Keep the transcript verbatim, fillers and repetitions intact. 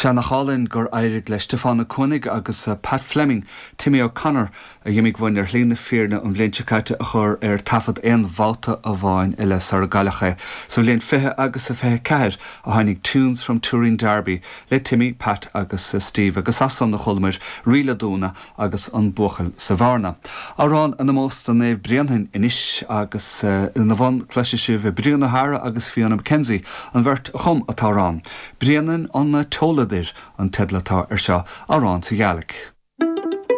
Sea, nach álainn gur éirigh le Stiofán Ó Cuanaigh agus Pat Fleming, Timmy O'Connor a d'imigh uainn ar shlí na fírinne an bhliain seo caite a chur ar taifead aon bhabhta amháin eile sara gcailleadh é. Sa bhliain fiche agus a fiche ceathair a tháinig Tunes from Turin Derby le Timmy, Pat agus Steve agus as san a chualamar Rí le Dúna agus an Buachaill sa Bhearna. Amhrán in ómós do Naomh Bréanainn anois agus ina bhun cloisfidh sibh Brian O'Hara agus Fiona McKenzie an bheirt a chum an t-amhrán. Bréanainn an t-eolaire an teideal atá ar seo amhrán sa Ghàidhlig.